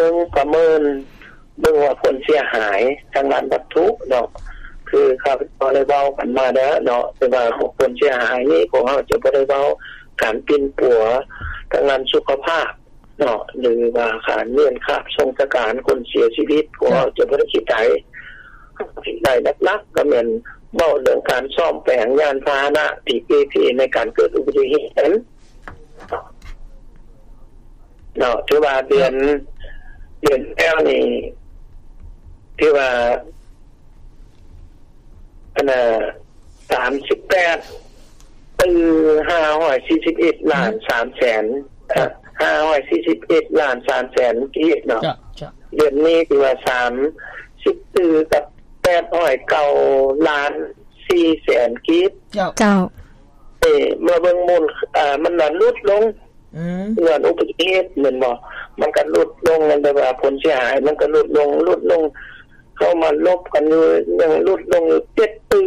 ບິ່ງປະເມີນ ເບິ່ງວ່າຜົນເສຍຫາຍທາງດ້ານວັດຖຸເນາະ ຄືຂ້າພະເຈົ້າໄດ້ເວົ້າກັນມາແລ້ວເນາະ ແຕ່ວ່າຜົນເສຍຫາຍນີ້ ພວກເຮົາຈະບໍ່ໄດ້ເວົ້າການປິ່ນປົວທາງດ້ານສຸຂະພາບເນາະ ຫຼືວ່າການເລື່ອນຄາບສົ່ງສະການຄົນເສຍຊີວິດ ພວກເຮົາຈະບໍ່ໄດ້ຄິດໄດ້ ເຮົາຄິດໄດ້ຫຼັກໆ ກໍແມ່ນເວົ້າເລື່ອງການສ້ອມແປງຍານພາຫະນະທີ່ເປ່ເພໃນການເກີດອຸບັດຕິເຫດນັ້ນ ເນາະ ຖືວ່າເດືອນ ເດືອນແລ້ວນີ້ ຖືວ່າ ອັນນ່າ ສາມສິບແປດຕື້ ຫ້າຮ້ອຍສີ່ສິບເອັດລ້ານ ສາມແສນ ເອີ ຫ້າຮ້ອຍສີ່ສິບເອັດລ້ານ ສາມແສນກີບເນາະ ເດືອນນີ້ຖືວ່າ ສາມສິບຕື້ ກັບ ແປດຮ້ອຍເກົ້າລ້ານສີ່ແສນກີບ ເຈົ້າ ເອີ ເມື່ອເບິ່ງມູນ ເອີ ມັນລະຫຼຸດລົງ ອືມ ຍ້ອນອຸບັດຕິເຫດແມ່ນບໍ່? ມັນກໍຫຼຸດລົງ ແຕ່ວ່າຜົນເສຍຫາຍມັນກໍຫຼຸດລົງ ຫຼຸດລົງ ເຮົາມາລົບກັນຢູ່ ຍັງຫຼຸດລົງຢູ່ເຈັດຕື້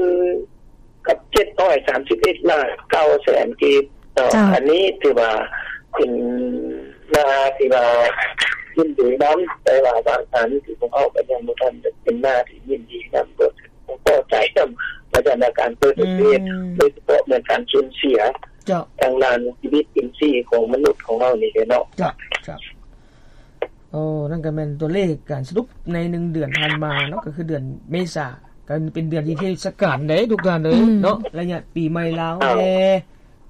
ກັບເຈັດຮ້ອຍສາມສິບເອັດລ້ານເກົ້າແສນກີບເນາະ ເຈົ້າ ອັນນີ້ຖືວ່າເປັນໜ້າທີ່ວ່າຍິນດີນຳ ແຕ່ວ່າບາງອັນທີ່ພວກເຮົາກໍຍັງບໍ່ທັນໄດ້ເປັນໜ້າທີ່ຍິນດີນຳ ບໍ່ ພໍໃຈນຳ ວ່າຊັ້ນນະ ການເກີດອຸບັດຕິເຫດ ອືມ ໂດຍສະເພາະແມ່ນການສູນເສຍ ເຈົ້າ ທາງດ້ານຊີວິດອິນຊີຂອງມະນຸດຂອງເຮົານີ້ເດເນາະ ເຈົ້າ ເຈົ້າ. ໂອ້ ນັ້ນກໍແມ່ນຕົວເລກການສະຫຼຸບໃນໜຶ່ງເດືອນຜ່ານມາເນາະ ກໍຄືເດືອນເມສາ ກໍເປັນເດືອນທີ່ເທດສະການເດ້ທຸກທ່ານເອີຍ ອືມ ເນາະ ໄລຍະປີໃໝ່ລາວແດ່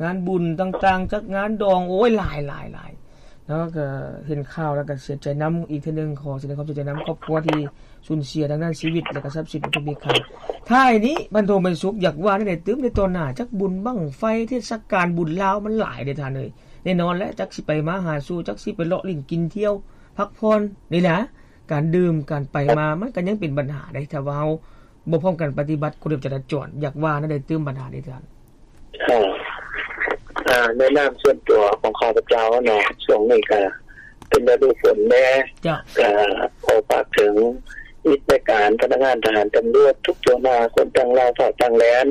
ງານບຸນຕ່າງໆ ຈັດງານດອງ ໂອ້ຍ ຫຼາຍໆໆ ເນາະ ກໍເຫັນຂ່າວແລ້ວກໍເສຍໃຈນຳອີກເທື່ອໜຶ່ງ ຂໍສະແດງຄວາມເສຍໃຈນຳຄອບຄົວທີ່ສູນເສຍທາງດ້ານຊີວິດ ແລະກໍຊັບສິນອັນເປັນມີຄ່າ. ທ້າຍນີ້ ພັນໂທ ໄມສຸກ ຢາກວ່າແນວໃດຕື່ມໃນຕໍ່ໜ້າ ຈັກບຸນບັ້ງໄຟ ເທດສະການບຸນລາວມັນຫຼາຍເດ້ທ່ານເອີຍ ແນ່ນອນແຫຼະ ຈັກຊິໄປມາຫາສູ່ ຈັກຊິໄປເລາະຫຼິ້ນກິນທ່ຽວ ພັກຜ່ອນນີ້ແຫຼະ ການດື່ມ ການໄປມາ ມັນກໍຍັງເປັນບັນຫາເດ້ ຖ້າວ່າເຮົາບໍ່ພ້ອມກັນປະຕິບັດກົດລະບຽບຈະລາຈອນ ຢາກວ່າແນວໃດຕື່ມບັນຫານີ້ທ່ານ? ເອີ ອາ ໃນນາມສ່ວນຕົວຂອງຂ້າພະເຈົ້າເນາະ ຊ່ວງນີ້ກໍເປັນລະດູຝົນແດ່ ເຈົ້າ ກໍຂໍຝາກເຖິງ ມິດແມ່ການ ພະນັກງານທະຫານຕຳຫຼວດທຸກທົ່ວໜ້າ ຄົນຕ່າງລາວ ຊາວຕ່າງແດນ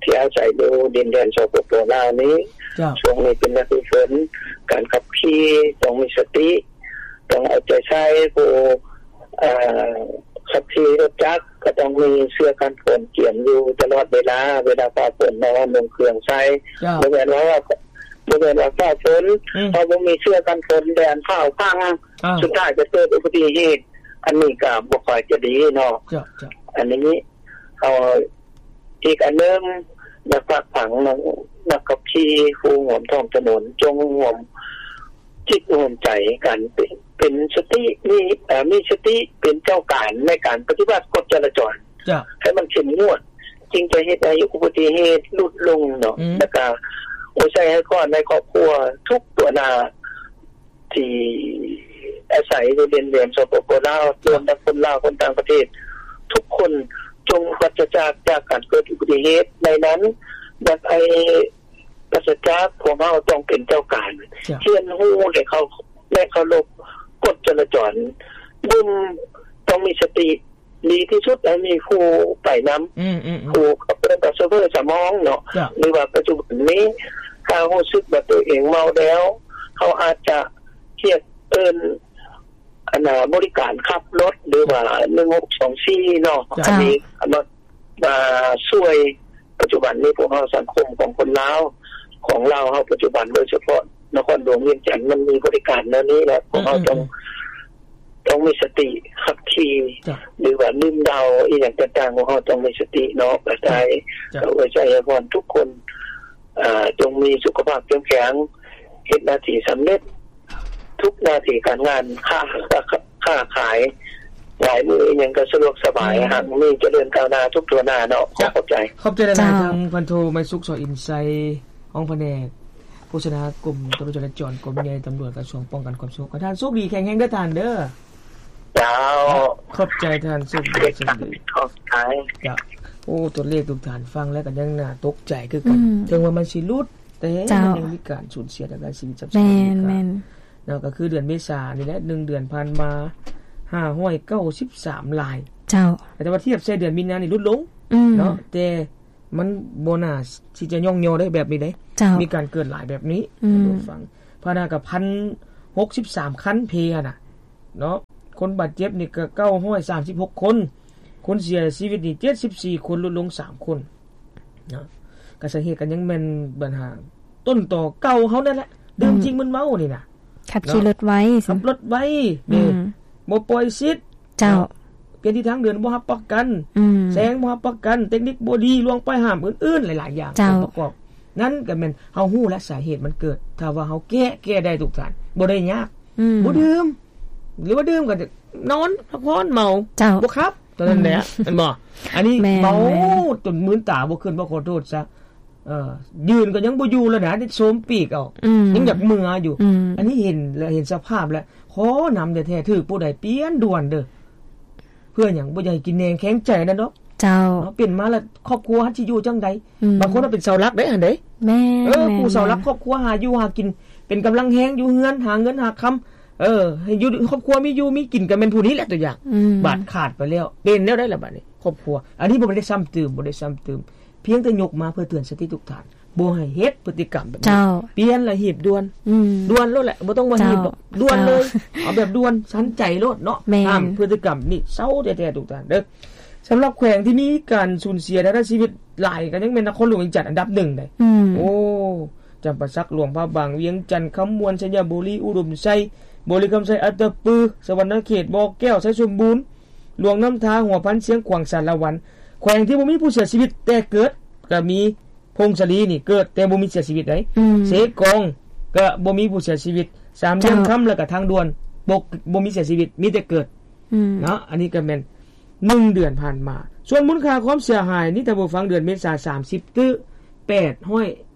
ທີ່ອາໄສຢູ່ດິນແດນ ສປປ ລາວນີ້ ເຈົ້າ ຊ່ວງນີ້ເປັນລະດູຝົນ ການຂັບຂີ່ຕ້ອງມີສະຕິ ຕ້ອງເອົາໃຈໃສ່ ຜູ້ ເອີ ຂັບຂີ່ລົດຈັກກໍຕ້ອງມີເສື້ອກັນຝົນກຽມຢູ່ຕະຫຼອດເວລາ ເວລາຟ້າຝົນເນາະ ນຸ່ງເຄື່ອງໃສ່ ເຈົ້າ ບໍ່ແມ່ນວ່າ ບໍ່ແມ່ນວ່າຟ້າຝົນ ອືມ ເຮົາບໍ່ມີເສື້ອກັນຝົນ ແດນຟ້າວພັງ ອ້າວ ສຸດທ້າຍຈະເກີດອຸບັດຕິເຫດ ອັນນີ້ກໍບໍ່ຄ່ອຍຈະດີເນາະ ເຈົ້າ ເຈົ້າ ອັນນີ້ ເອີ ອີກອັນໜຶ່ງ ຢາກຝາກຝັງນັກ ນັກຂັບຂີ່ ຜູ້ຮ່ວມທ້ອງຖະໜົນ ຈົ່ງຮ່ວມຈິດຮ່ວມໃຈກັນ ເປັນ ເປັນສະຕິ ມີ ເອີ ມີສະຕິເປັນເຈົ້າການໃນການປະຕິບັດກົດຈະລາຈອນ ເຈົ້າ ໃຫ້ມັນເຂັ້ມງວດ ຈຶ່ງຈະເຮັດໃຫ້ອຸບັດຕິເຫດຫຼຸດລົງເນາະ ອືມ ແລ້ວກະອວຍໄຊໃຫ້ຄອນໃນຄອບຄົວທຸກຕົວໜ້າ ທີ່ອາໄສຢູ່ດິນແດນ ສປປ ລາວ ຮວມທັງຄົນລາວ ຄົນຕ່າງປະເທດ ທຸກຄົນຈົ່ງປາສະຈາກຈາກການເກີດອຸບັດຕິເຫດ ໃນນັ້ນ ຢາກໃຫ້ປາສະຈາກ ພວກເຮົາຕ້ອງເປັນເຈົ້າການ ເຈົ້າ ຮຽນຮູ້ ແລະ ເຄົາ ແລະ ເຄົາລົບກົດຈະລາຈອນ ດື່ມ ຕ້ອງມີສະຕິ ດີທີ່ສຸດໃຫ້ມີຜູ້ໄປນຳ ອືມໆໆ ຜູ້ເອີ້ນວ່າໂຊເຟີສຳຮອງເນາະ ເຈົ້າ ຫຼືວ່າປັດຈຸບັນນີ້ ຖ້າຮູ້ສຶກວ່າຕົວເອງເມົາແລ້ວ ເຮົາອາດຈະຮຽກເອີ້ນ ອັນນ່າ ບໍລິການຂັບລົດ ຫຼືວ່າໜຶ່ງຫົກສອງສີ່ເນາະ ເຈົ້າ ອັນນີ້ມາ ມາຊ່ວຍ ປັດຈຸບັນນີ້ພວກເຮົາ ສັງຄົມຂອງຄົນລາວ ຂອງລາວເຮົາປັດຈຸບັນ ໂດຍສະເພາະນະຄອນຫຼວງວຽງຈັນ ມັນມີບໍລິການແນວນີ້ແຫຼະ ພວກເຮົາ ອືມໆໆ ຕ້ອງ ຕ້ອງມີສະຕິຂັບຂີ່ ເຈົ້າ ຫຼືວ່າດື່ມເຫຼົ້າອີ່ຫຍັງຕ່າງໆ ພວກເຮົາຕ້ອງມີສະຕິເນາະ ກະຈາຍ ເຈົ້າ ເອົາໄວ້ໃຊ້ໃຫ້ພວກທຸກຄົນ ເອີ ຈົ່ງມີສຸຂະພາບເຂັ້ມແຂງ ເຮັດໜ້າທີ່ສຳເລັດ ທຸກໜ້າທີ່ການງານ ຄ້າ ຄ້າຂາຍ ຫຼາຍມື້ອີ່ຫຍັງກໍສະດວກສະບາຍ ອືມ ຮັ່ງມີຈະເລີນກ້າວໜ້າທຸກທົ່ວໜ້າເນາະ ຂໍຂອບໃຈ ຂອບໃຈຫຼາຍໆ ເຈົ້າ ທາງພັນໂທ ໄມສຸກ ສໍອິນໄຊ ຮອງພະແນກໂຄສະນາກົມຕຳຫຼວດຈະລາຈອນ ກົມໃຫຍ່ຕຳຫຼວດ ກະຊວງປ້ອງກັນຄວາມສະຫງົບ ໃຫ້ທ່ານໂຊກດີແຂງແຮງເດີທ່ານເດີ ເຈົ້າ ຂອບໃຈທ່ານ ໂຊກດີ ໂຊກດີ ຂອບໃຈ ເຈົ້າ ໂອ້ ຕົວເລກທຸກທ່ານຟັງແລ້ວກໍຍັງໜ້າຕົກໃຈຄືກັນ ອືມ ເຖິງວ່າມັນຊິຫຼຸດ ແຕ່ ເຈົ້າ ມັນຍັງມີການສູນເສຍທາງດ້ານຊີວິດຊັບສິນ ແມ່ນໆ ເນາະ ກໍຄືເດືອນເມສານີ້ແຫຼະ ໜຶ່ງເດືອນຜ່ານມາ ຫ້າຮ້ອຍເກົ້າສິບສາມລາຍ ເຈົ້າ ແຕ່ວ່າທຽບໃສ່ເດືອນມີນານີ້ຫຼຸດລົງ ອືມ ເນາະ ແຕ່ມັນບໍ່ໜ້າທີ່ຈະຍ້ອງຍໍໄດ້ແບບນີ້ເດ້ ເຈົ້າ ມີການເກີດຫຼາຍແບບນີ້ ອືມ ທ່ານຜູ້ຟັງ ຜ່ານມາກໍພັນຫົກສິບສາມຄັນເພຫັ້ນນະ ເນາະ ຄົນບາດເຈັບນີ້ກໍເກົ້າຮ້ອຍສາມສິບຫົກຄົນ, ຄົນເສຍຊີວິດນີ້ເຈັດສິບສີ່ຄົນ, ຫຼຸດລົງສາມຄົນເນາະ. ກໍສາເຫດກໍຍັງແມ່ນບັນຫາຕົ້ນຕໍເກົ່າເຮົານັ້ນແຫຼະ, ດື່ມ ອືມ ສິ່ງມຶນເມົານີ້ນະ, ຂັບຂີ່ລົດໄວ ເນາະ, ຂັບລົດໄວ ອືມ ນີ້ ບໍ່ປ່ອຍສິດ ເຈົ້າ ເນາະ, ປ່ຽນທິດທາງເດີນບໍ່ຮັບປະກັນ ອືມ ແຊງບໍ່ຮັບປະກັນ ເຕັກນິກບໍ່ດີ ລ່ວງປ້າຍຫ້າມ ອື່ນໆ ຫຼາຍໆຢ່າງ ເຈົ້າ ອົງປະກອບ ນັ້ນກໍແມ່ນເຮົາຮູ້ແລ້ວສາເຫດມັນເກີດ. ຖ້າວ່າເຮົາແກ້ ແກ້ໄດ້ທຸກທ່ານ ບໍ່ໄດ້ຍາກ ອືມ ບໍ່ດື່ມ ຫຼືວ່າດື່ມກໍນອນພັກຜ່ອນເມົາ ເຈົ້າ ບໍ່ຂັບ ເທົ່ານັ້ນແຫຼະ ອືມ ແມ່ນບໍ່? ອັນນີ້ ແມ່ນ ເມົາ ແມ່ນ ຈົນມືນຕາບໍ່ຂຶ້ນ ບໍ່ຂໍໂທດຊະ ເອີ ຢືນກໍຍັງບໍ່ຢູ່ແລ້ວນະ ໂຊມປີກເອົາ ອືມ ຍັງຢາກເມືອຢູ່ ອືມ ອັນນີ້ເຫັນແລ້ວ ເຫັນສະພາບແລ້ວ ຂໍນຳແທ້ໆ ຖືກຜູ້ໃດປ່ຽນດ່ວນເດີ້. ເພື່ອຫຍັງ? ບໍ່ຢາກໃຫ້ກິນແໜງແຂງໃຈນັ້ນດອກ ເຈົ້າ ເນາະ. ເປັນມາແລ້ວຄອບຄົວເຮົາຊິຢູ່ຈັ່ງໃດ? ອືມ ບາງຄົນວ່າເປັນເສົາຫຼັກເດ້ຫັ້ນເດ້ ແມ່ນ ເອີ ແມ່ນ ຜູ້ເສົາຫຼັກ ແມ່ນ ຄອບຄົວ ຫາຢູ່ຫາກິນ ເປັນກຳລັງແຮງຢູ່ເຮືອນ ຫາເງິນຫາຄຳ ເອີ ໃຫ້ຢູ່ ຄອບຄົວມີຢູ່ມີກິນ ກໍແມ່ນຜູ້ນີ້ແຫຼະຕົວຢ່າງ ອືມ ບາດຂາດໄປແລ້ວ ເປັນແນວໃດລະບາດນີ້ຄອບຄົວ? ອັນນີ້ບໍ່ໄດ້ຊ້ຳຕື່ມ ບໍ່ໄດ້ຊ້ຳຕື່ມ ພຽງແຕ່ຍົກມາເພື່ອເຕືອນສະຕິທຸກທ່ານ ບໍ່ໃຫ້ເຮັດພຶດຕິກຳແບບນີ້ ເຈົ້າ ປ່ຽນລະຮີບດ່ວນ ອືມ ດ່ວນໂລດແຫຼະ ບໍ່ຕ້ອງມາຮີບດອກ ເຈົ້າ ດ່ວນເລີຍ ເຈົ້າ ເອົາແບບດ່ວນ ທັນໃຈໂລດເນາະ ແມ່ນ ຫ້າມພຶດຕິກຳນີ້ ເຊົາແທ້ໆ ທຸກທ່ານເດີ. ສຳລັບແຂວງທີ່ມີການສູນເສຍທາງດ້ານຊີວິດຫຼາຍ ກໍຍັງແມ່ນນະຄອນຫຼວງວຽງຈັນອັນດັບໜຶ່ງເດ້ ອືມ ໂອ້ ຈຳປາສັກ ຫຼວງພະບາງ ວຽງຈັນ ຄຳມ່ວນ ໄຊຍະບູລີ ອຸດົມໄຊ ບໍລິຄຳໄຊ ອັດຕະປື ສະຫວັນນະເຂດ ບໍ່ແກ້ວ ໄຊສົມບູນ ຫຼວງນ້ຳທາ ຫົວພັນ ຊຽງຂວາງ ສາລະວັນ. ແຂວງທີ່ບໍ່ມີຜູ້ເສຍຊີວິດແຕ່ເກີດກໍມີ ຜົ້ງສາລີນີ້ເກີດແຕ່ບໍ່ມີເສຍຊີວິດໃດ ອືມ ເຊກອງກໍບໍ່ມີຜູ້ເສຍຊີວິດ ສາມຫຼ່ຽມຄຳ ເຈົ້າ ແລ້ວກໍທາງດ່ວນ ບໍ່ ບໍ່ມີເສຍຊີວິດ ມີແຕ່ເກີດ ອືມ ເນາະ. ອັນນີ້ກໍແມ່ນໜຶ່ງເດືອນຜ່ານມາ. ສ່ວນມູນຄ່າຄວາມເສຍຫາຍນີ້ ທ່ານຜູ້ຟັງ ເດືອນເມສາ ສາມສິບຕື້ແປດຮ້ອຍ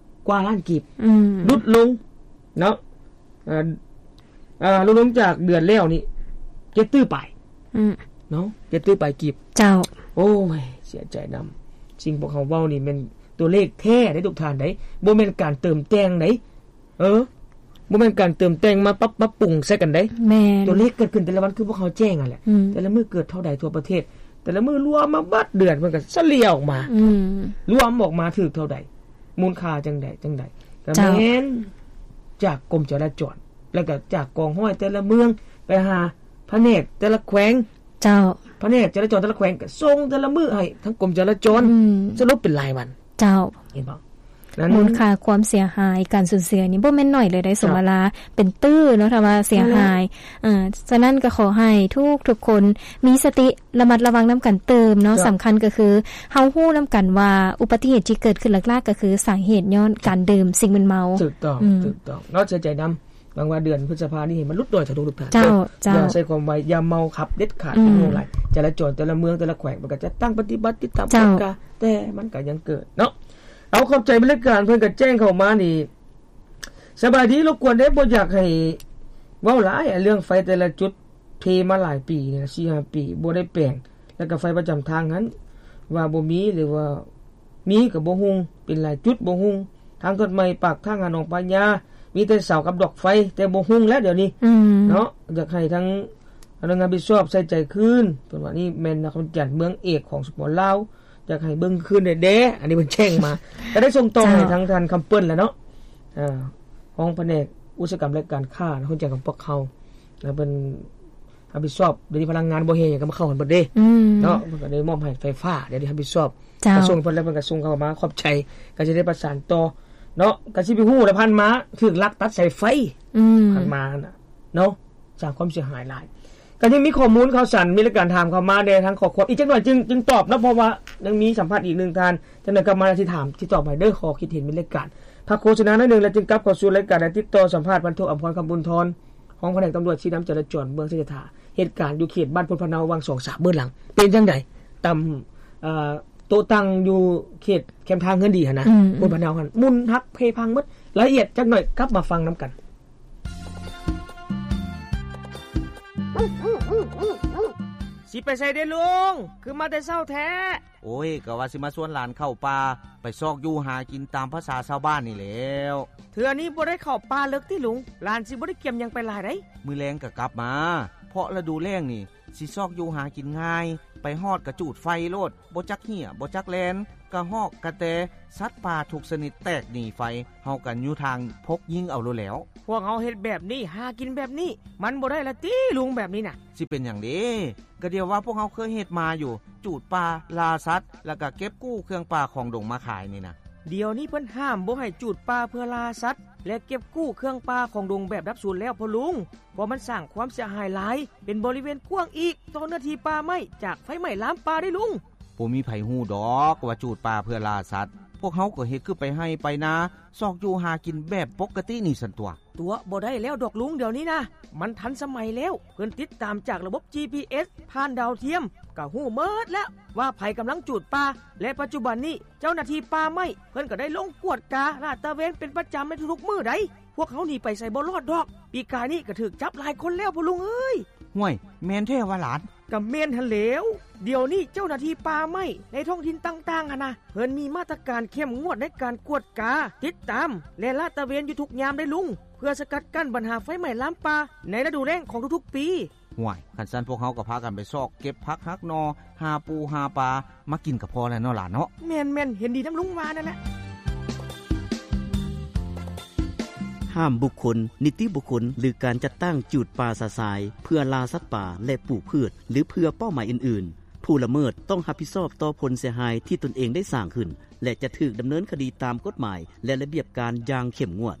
ກວ່າລ້ານກີບ ອືມ ຫຼຸດລົງເນາະ ເອີ ເອີ ຫຼຸດລົງຈາກເດືອນແລ້ວນີ້ເຈັດຕື້ປາຍ ອືມ ເນາະ ເຈັດຕື້ປາຍກີບ ເຈົ້າ. ໂອ້ຍ ເສຍໃຈນຳ ສິ່ງພວກເຮົາເວົ້ານີ້ແມ່ນຕົວເລກແທ້ເດ້ທຸກທ່ານເດ້ ບໍ່ແມ່ນການເຕີມແຕ່ງເດ້ ເອີ ບໍ່ແມ່ນການເຕີມແຕ່ງມາປັບ ມາປຸງໃສ່ກັນເດ້ ແມ່ນ ຕົວເລກເກີດຂຶ້ນແຕ່ລະວັນ ຄືພວກເຮົາແຈ້ງຫັ້ນແຫຼະ ອືມ ແຕ່ລະມື້ເກີດເທົ່າໃດທົ່ວປະເທດ ແຕ່ລະມື້ລວມມາເບິດເດືອນ ເພິ່ນກໍສະເລ່ຍອອກມາ ອືມ ລວມອອກມາຖືກເທົ່າໃດ ມູນຄ່າຈັ່ງໃດຈັ່ງໃດ ກໍ ເຈົ້າ ແມ່ນຈາກກົມຈະລາຈອນ ແລ້ວກໍຈາກກອງຮ້ອຍແຕ່ລະເມືອງ ໄປຫາພະແນກແຕ່ລະແຂວງ ເຈົ້າ ພະແນກຈະລາຈອນແຕ່ລະແຂວງ ກໍສົ່ງແຕ່ລະມື້ໃຫ້ທາງກົມຈະລາຈອນ ອືມ ສະຫຼຸບເປັນລາຍວັນ ເຈົ້າ ເຫັນບໍ່? ນັ້ນ ມູນຄ່າຄວາມເສຍຫາຍ ການສູນເສຍນີ້ບໍ່ແມ່ນໜ້ອຍເລີຍເດ້ ສົມມະລາ ເປັນຕື້ເນາະ ຖ້າວ່າເສຍຫາຍ ເອີ ສະນັ້ນກໍຂໍໃຫ້ທຸກໆຄົນມີສະຕິ ລະມັດລະວັງນຳກັນຕື່ມເນາະ ເຈົ້າ ສຳຄັນກໍຄືເຮົາຮູ້ນຳກັນວ່າອຸບັດຕິເຫດທີ່ເກີດຂຶ້ນຫຼັກໆກໍຄືສາເຫດຍ້ອນການດື່ມສິ່ງມຶນເມົາ ຖືກຕ້ອງ ອືມ ຖືກຕ້ອງເນາະ ເສຍໃຈນຳ ຫວັງວ່າເດືອນພຶດສະພານີ້ໃຫ້ມັນຫຼຸດໜ້ອຍເຖິາທຸກໆທ່ານ ເຈົ້າ ເຈົ້າ ຢ່າໃຊ້ຄວາມໄວ ຢ່າເມົາຂັບເດັດຂາດ ອືມ ເປັນຫ່ວງຫຼາຍ ຈະລາຈອນແຕ່ລະເມືອງແຕ່ລະແຂວງ ເພິ່ນກໍຈັດຕັ້ງປະຕິບັດຕິດຕາມ ເຈົ້າ ກວດກາ ແຕ່ມັນກໍຍັງເກີດເນາະ. ເອົາ ຂອບໃຈ ບັນດາການເພິ່ນກໍແຈ້ງເຂົ້າມານີ້ ສະບາຍດີ ລົບກວນເດ້ ບໍ່ຢາກໃຫ້ເວົ້າຫຼາຍ ເລື່ອງໄຟແຕ່ລະຈຸດ ເພມາຫຼາຍປີນີ້ນະ ສີ່ຫ້າປີ ບໍ່ໄດ້ແປງ ແລ້ວກໍໄຟປະຈຳທາງຫັ້ນ ວ່າບໍ່ມີ ຫຼືວ່າມີກໍບໍ່ຮຸ່ງ ເປັນຫຼາຍຈຸດບໍ່ຮຸ່ງ ທາງຕັດໃໝ່ປາກທາງຫາໜອງພະຍາ ມີແຕ່ເສົາກັບດອກໄຟ ແຕ່ບໍ່ຮຸ່ງແລ້ວດຽວນີ້ ອືມ ເນາະ. ຢາກໃຫ້ທາງພະນັກງານຮັບຜິດຊອບໃສ່ໃຈຄືນ ເພິ່ນວ່ານີ້ແມ່ນນະຄອນຫຼວງວຽງຈັນ ເມືອງເອກຂອງ ສປປ ລາວ ຢາກໃຫ້ເບິ່ງຄືນແດ່ໆ ອັນນີ້ເພິ່ນແຈ້ງມາ ກໍໄດ້ສົ່ງຕໍ່ໃຫ້ທາງທ່ານຄຳເປີ້ນແຫຼະເນາະ ເອີ ຮອງພະແນກອຸດສາຫະກຳ ແລະ ການຄ້າ ນະຄອນຫຼວງວຽງຈັນຂອງພວກເຮົາ ແລ້ວເພິ່ນຮັບຜິດຊອບ ດຽວນີ້ພະລັງງານບໍ່ແຮ່ຫຍັງກໍມາເຂົ້າກັນເບິດເດ້ ອືມ ເນາະ ເພິ່ນກໍໄດ້ມອບໃຫ້ໄຟຟ້າ ດຽວນີ້ຮັບຜິດຊອບ ເຈົ້າ ກະຊວງເພິ່ນ ແລ້ວເພິ່ນກໍສົ່ງເຂົ້າມາ ຂອບໃຈ ກໍຈະໄດ້ປະສານຕໍ່ເນາະ. ກໍຊິໄປຮູ້ແລ້ວ ຜ່ານມາຖືກລັກຕັດສາຍໄຟ ອືມ ຜ່ານມາຫັ້ນນະ ເນາະ ສ້າງຄວາມເສຍຫາຍຫຼາຍ. ກໍຍັງມີຂໍ້ມູນຂ່າວສານ ມີລາຍການຖາມເຂົ້າມາແດ່ທາງຂໍ້ຄວາມ ອີກຈັກໜ້ອຍຈຶ່ງ ຈຶ່ງຕອບເນາະ ເພາະວ່າຍັງມີສຳພາດອີກໜຶ່ງທ່ານ ຈັກໜ້ອຍກັບມາຊິຖາມ ຊິຕອບໃຫ້ເດີ ຂໍ້ຄິດເຫັນ ມີລາຍການ ພັກໂຄສະນາໜ້ອຍໜຶ່ງ ແລ້ວຈຶ່ງກັບເຂົ້າສູ່ລາຍການ ແລະ ຕິດຕໍ່ສຳພາດ ພັນໂທ ອຳພອນ ຄຳບຸນທອນ ຮອງພະແນກຕຳຫຼວດຊີ້ນຳຈະລາຈອນ ເມືອງໄຊຍະຖາ ເຫດການຢູ່ເຂດບ້ານໂພນພະເນົາ ວັງສອງສາມ ເບື້ອງຫຼັງ ເປັນຈັ່ງໃດ? ຕຳ ເອີ ໂຕະຕັ່ງຢູ່ເຂດແຄມທາງເຮືອນດີຫັ້ນນະ ອືມ ໂພນພະເນົາຫັ້ນ ໝຸນຫັກເພພັງໝົດ. ລາຍລະອຽດຈັກໜ້ອຍ ກັບມາຟັງນຳກັນ. ຊິໄປໃສເດລຸງ? ຄືມາແຕ່ເຊົ້າແທ້? ໂອ້ຍ ກະວ່າຊິມາຊວນຫຼານເຂົ້າປ່າ ໄປຊອກຢູ່ຫາກິນຕາມພາສາຊາວບ້ານນີ້ແຫຼ້ວ. ເທື່ອນີ້ບໍ່ໄດ້ເຂົ້າປ່າເລິກຕິລຸງ? ຫຼານຊິບໍ່ໄດ້ກຽມຫຍັງໄປຫຼາຍໃດ໋. ມື້ແລງກະກັບມາ ເພາະລະດູແລ້ງນີ້ ຊິຊອກຢູ່ຫາກິນງ່າຍ, ໄປຮອດກະຈູດໄຟໂລດ, ບໍ່ຈັກເຫ້ຍ ບໍ່ຈັກແລ່ນ, ກະຮອກ ກະແຕ, ສັດປ່າທຸກຊະນິດແຕກໜີໄຟ, ເຮົາກະຢູ່ທາງພົກຍິງເອົາໂລດແລ້ວ. ພວກເຮົາເຮັດແບບນີ້ ຫາກິນແບບນີ້ ມັນບໍ່ໄດ້ລະຕິລຸງ ແບບນີ້ນະ? ຊິເປັນຫຍັງເດ? ກະດຽວວ່າພວກເຮົາເຄີຍເຮັດມາຢູ່, ຈູດປ່າ, ລ່າສັດ, ລະກະເກັບກູ້ເຄື່ອງປ່າຂອງດົງມາຂາຍນີ້ນະ. ດຽວນີ້ເພິ່ນຫ້າມບໍ່ໃຫ້ຈູດປ່າເພື່ອລ່າສັດ ແລະ ເກັບກູ້ເຄື່ອງປ່າຂອງດົງແບບດັບສູນແລ້ວພໍ່ລຸງ, ເພາະມັນສ້າງຄວາມເສຍຫາຍຫຼາຍ, ເປັນບໍລິເວນກວ້າງອີກຕໍ່ເນື້ອທີ່ປ່າໄມ້ຈາກໄຟໄໝ້ລາມປ່າເດ້ລຸງ. ບໍ່ມີໃຜຮູ້ດອກວ່າຈູດປ່າເພື່ອລ່າສັດ, ພວກເຮົາກໍເຮັດຄືໄປໄຮ່ໄປນາ, ຊອກຢູ່ຫາກິນແບບປົກກະຕິນີ້ຊັ້ນຕົວະ. ຕົວະບໍ່ໄດ້ແລ້ວດອກລຸງ ດຽວນີ້ນະ ມັນທັນສະໄໝແລ້ວ, ເພິ່ນຕິດຕາມຈາກລະບົບ ຈີພີເອສ ຜ່ານດາວທຽມ ກະຮູ້ໝົດແລ້ວວ່າໃຜກຳລັງຈູດປ່າ ແລະ ປັດຈຸບັນນີ້ ເຈົ້າໜ້າທີ່ປ່າໄມ້ເພິ່ນກໍໄດ້ລົງກວດກາລາດຕະເວນເປັນປະຈຳໃນທຸກໆມື້ໃດ໋. ພວກເຮົາໜີໄປໃສບໍ່ລອດດອກ. ປີກາຍນີ້ກໍຖືກຈັບຫຼາຍຄົນແລ້ວພໍ່ລຸງເອີຍ. ຫ້ວຍ ແມ່ນແທ້ຫວາຫຼານ? ກໍແມ່ນຫັ້ນແຫຼ້ວ. ດຽວນີ້ເຈົ້າໜ້າທີ່ປ່າໄມ້ໃນທ້ອງຖິ່ນຕ່າງໆຫັ້ນນະ ເພິ່ນມີມາດຕະການເຂັ້ມງວດໃນການກວດກາ, ຕິດຕາມ ແລະ ລາດຕະເວນຢູ່ທຸກຍາມເດ້ລຸງ, ເພື່ອສະກັດກັ້ນບັນຫາໄຟໄໝ້ລາມປ່າໃນລະດູແລ້ງຂອງທຸກໆປີ. ຫ້ວຍ ຄັນຊັ້ນພວກເຮົາກໍພາກັນໄປຊອກເກັບຜັກຫັກໜໍ່, ຫາປູຫາປາມາກິນກໍພໍແລ້ວເນາະຫຼານເນາະ. ແມ່ນໆ ເຫັນດີນຳລຸງວ່ານັ້ນແຫຼະ. ຫ້າມບຸກຄົນ, ນິຕິບຸກຄົນ ຫຼື ການຈັດຕັ້ງຈູດປ່າຊະຊາຍເພື່ອລ່າສັດປ່າ ແລະ ປູກພືດ ຫຼື ເພື່ອເປົ້າໝາຍອື່ນໆ. ຜູ້ລະເມີດຕ້ອງຮັບຜິດຊອບຕໍ່ຜົນເສຍຫາຍທີ່ຕົນເອງໄດ້ສ້າງຂຶ້ນ ແລະ ຈະຖືກດຳເນີນຄະດີຕາມກົດໝາຍ ແລະ ລະບຽບການຢ່າງເຂັ້ມງວດ.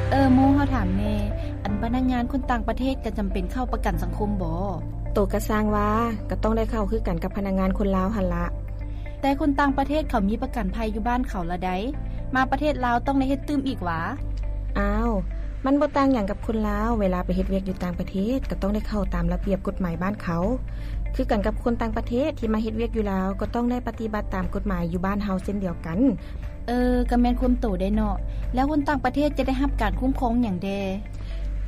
ເອີ ໂມ ເຮົາຖາມແດ່, ອັນພະນັກງານຄົນຕ່າງປະເທດກໍຈຳເປັນເຂົ້າປະກັນສັງຄົມບໍ? ໂຕກະຊ່າງວ່າ, ກໍຕ້ອງໄດ້ເຂົ້າຄືກັນກັບພະນັກງານຄົນລາວຫັ້ນລະ. ແຕ່ຄົນຕ່າງປະເທດເຂົາມີປະກັນໄພຢູ່ບ້ານເຂົາລະໃດ໋, ມາປະເທດລາວຕ້ອງໄດ້ເຮັດຕື່ມອີກຫວາ? ອ້າວ, ມັນບໍ່ຕ່າງຫຍັງກັບຄົນລາວ, ເວລາໄປເຮັດວຽກຢູ່ຕ່າງປະເທດ ກໍຕ້ອງໄດ້ເຂົ້າຕາມລະບຽບກົດໝາຍບ້ານເຂົາ ຄືກັນກັບຄົນຕ່າງປະເທດທີ່ມາເຮັດວຽກຢູ່ລາວ ກໍຕ້ອງໄດ້ປະຕິບັດຕາມກົດໝາຍຢູ່ບ້ານເຮົາເຊັ່ນດຽວກັນ. ເອີ, ກໍແມ່ນຄວາມໂຕໄດ໋ເນາະ. ແລ້ວຄົນຕ່າງປະເທດຈະໄດ້ຮັບການຄຸ້ມຄອງຫຍັງແດ່?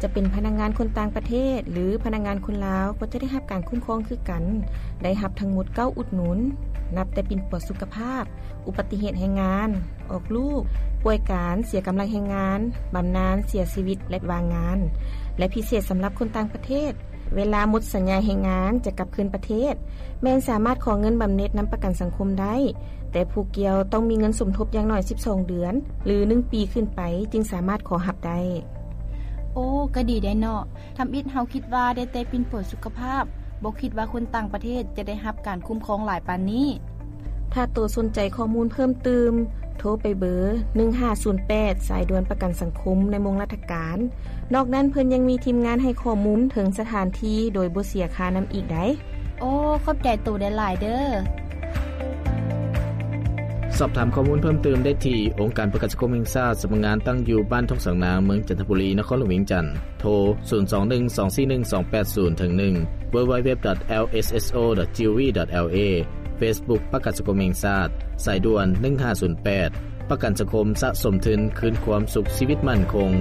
ຈະເປັນພະນັກງານຄົນຕ່າງປະເທດ ຫຼື ພະນັກງານຄົນລາວ ກໍຈະໄດ້ຮັບການຄຸ້ມຄອງຄືກັນ, ໄດ້ຮັບທັງໝົດເກົ້າອຸດໜູນ, ນັບແຕ່ປິ່ນປົວສຸຂະພາບ, ອຸບັດຕິເຫດແຮງງານ, ອອກລູກ, ປ່ວຍການ, ເສຍກຳລັງແຮງງານ, ບຳນານ, ເສຍຊີວິດ ແລະ ວ່າງງານ ແລະ ພິເສດສຳລັບຄົນຕ່າງປະເທດ, ເວລາໝົດສັນຍາແຮງງານຈະກັບຄືນປະເທດ, ແມ່ນສາມາດຂໍເງິນບຳເນັດນຳປະກັນສັງຄົມໄດ້, ແຕ່ຜູ້ກ່ຽວຕ້ອງມີເງິນສົມທົບຢ່າງໜ້ອຍສິບສອງເດືອນ ຫຼື ໜຶ່ງປີຂຶ້ນໄປ ຈຶ່ງສາມາດຂໍຮັບໄດ້. ໂອ້, ກໍດີໄດ໋ເນາະ. ທຳອິດເຮົາຄິດວ່າໄດ້ແຕ່ປິ່ນປົວສຸຂະພາບ, ບໍ່ຄິດວ່າຄົນຕ່າງປະເທດຈະໄດ້ຮັບການຄຸ້ມຄອງຫຼາຍປານນີ້. ຖ້າໂຕສົນໃຈຂໍ້ມູນເພີ່ມຕື່ມ, ໂທໄປເບີ ໜຶ່ງຫ້າສູນແປດ ສາຍດ່ວນປະກັນສັງຄົມໃນໂມງລາຊະການ. ນອກນັ້ນເພິ່ນຍັງມີທີມງານໃຫ້ຂໍ້ມູນເຖິງສະຖານທີ່ໂດຍບໍ່ເສຍຄ່ານຳອີກໄດ໋. ໂອ້, ຂອບໃຈໂຕຫຼາຍໆເດີ້. ສອບຖາມຂໍ້ມູນເພີ່ມຕື່ມໄດ້ທີ່ ອົງການປະກັນສັງຄົມແຫ່ງຊາດ ສຳນັກງານຕັ້ງຢູ່ບ້ານທົ່ງສາງນາງ ເມືອງຈັນທະບູລີ ນະຄອນຫຼວງວຽງຈັນ. ໂທ ສູນສອງໜຶ່ງສອງສີ່ໜຶ່ງສອງແປດສູນ ເຖິງ ໜຶ່ງ www.lsso.gov.la. Facebook ປະກັນສັງຄົມແຫ່ງຊາດ, ສາຍດ່ວນ ໜຶ່ງຫ້າສູນແປດ ປະກັນສັງຄົມສະສົມທຶນຄືນຄວາມສຸກຊີວິດໝັ້ນຄົງ.